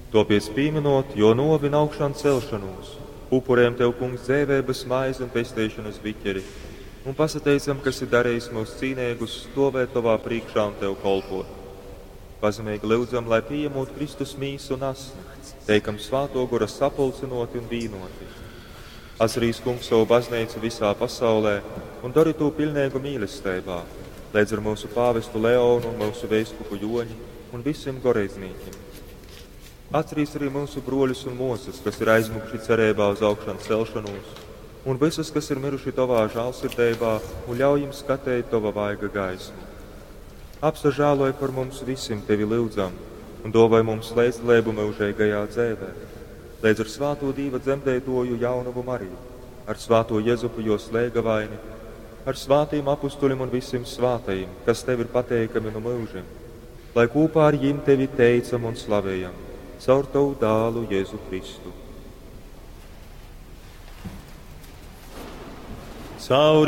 Tōpēc pīminot jō nōvi un augšām celšanos, upurējam Tev, Kungs, dzeiveibas maizi un pesteišanas biķeri, un pasateicam, ka esi darījis mūs cīneigus stovēt Tovā prīkšā un Tev kolpot. Pazemeigi lyudzam, lai pieņemot Kristus mīsu un asni, teikam svāto gora sapulcinoti un vīnoti. Atcerīs, Kungs, savu baznīcu visā pasaulē un dari to pilnīgu mīlestībā, līdz ar mūsu pāvestu Leonu un mūsu veiskupu Joņi un visiem goreidznīkiem. Atcerīs arī mūsu broļus un mūsas, kas ir aizmukuši cerībā uz augšanu celšanos, un visus, kas ir miruši Tavā žālsirdībā, un ļauj jums skatīt Tava vaiga gaismu. Apsažāloj par mums visiem Tevi lūdzam, un dāvāj mums līdzdalību mūžīgajā dzēvē. Līdz ar svāto Dīva dzemdētoju jaunavu Mariju, ar svāto Jezupu jo slēgavaini, ar svātiem apustuļiem un visiem svātajiem, kas Tev ir pateikami no mūžiem, lai kopā ar jim Tevi teicam un slavējam, caur Tavu dālu Jēzu Kristu. Caur.